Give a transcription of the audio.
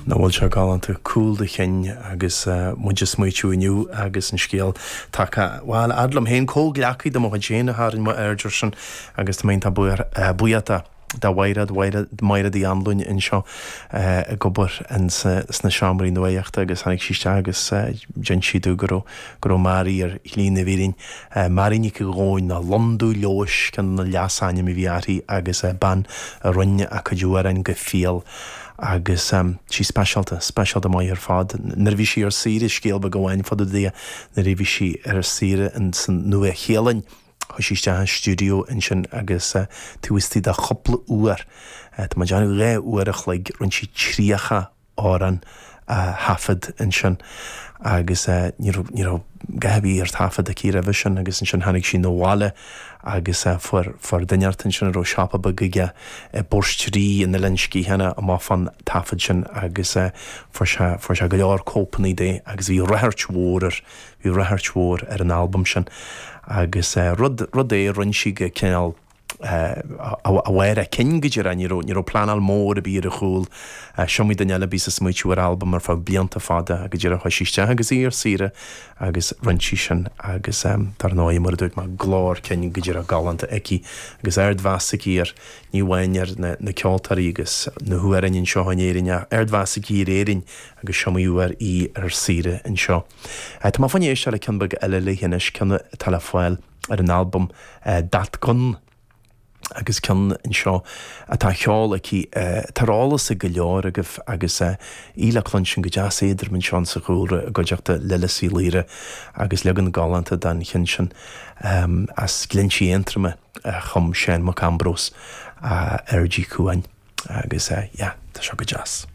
Nach bhfuil sé galánta, cúl do chinn agus muid ag smaoitiú inniu agus an scéal tagtha, bhuel, fhad liom féin, comhghleacaí de mo chuid féin a tharraing m'aird air sin agus tá mé iontach buíoch de. De Mhaighread, Maighread Uí Anluain anseo ag obair sna seomraí nuachta agus tháinig sí isteach agus d'inis sí domh go raibh, go raibh Mary ar shlí na bhfírinne. Mary Nic Dhomhnaill nó Londubh Leodhais ceann de na leasainm a bhí uirthi agus bean a roinn a cuid amhráin go fial agus sí speisialta, speisialta maith ar fad. Nuair a bhí sí ar saoire, scéal beag amháin fá dtaobh di, nuair a bhí sí ar saoire insan Nua-Shéalainn, Chuaigh sí isteach i stiúideo ansin agus taobh istigh de chúpla uair, tá mé ag déanamh 2 uair a chloig, rinne sí 30 amhrán a thaifead ansin agus ní raibh, ní raibh a dhath ar bith ar taifead aici roimhe sin agus ansin tháinig sí 'na bhaile agus fuair, fuair duine inteacht ansin a raibh siopa beag aige i bPort Rí in Oileán Sgitheanach amach fán taifead sin agus fuair sé, fuair sé go leor cóipeanna de agus bhí ráchairt mhór air. Bhí ráchairt mhór ar an albam sin agus rud, rud é a rinne sí go cineál a mhéar a cinn go díreach, ní raibh, ní raibh pleanáil mór ar bith ar a chúl. Is iomaí duine eile a bhíos ag smaoitiú ar albam ar feadh blianta fada go díreach chuaigh sí isteach agus í ar saoire agus rinne sí sin agus dar ndóigh mar a dúirt mé glór cinn go díreach galánta aici agus ardmheas aici ar, ní amháin ar na, na ceoltóirí agus na hamhráin anseo in Éirinn ach ardmheas aici ar Éirinn agus is iomaí uair í ar saoire anseo. Tá mé fá choinne éisteacht le ceann beag eile léi anois, ceann atá le fáil ar an albam That Gun agus ceann anseo atá á cheol aici atá ar eolas ag go leor agaibh agus í le cluinstin go deas éadrom anseo sa chúlra i gcuideachta Lillis Uí Laoire agus leagan galánta den cheann sin as Glinntí Aontroma a chum Seán Mac Ambróis ar G. Cuain agus yeah, tá seo go deas.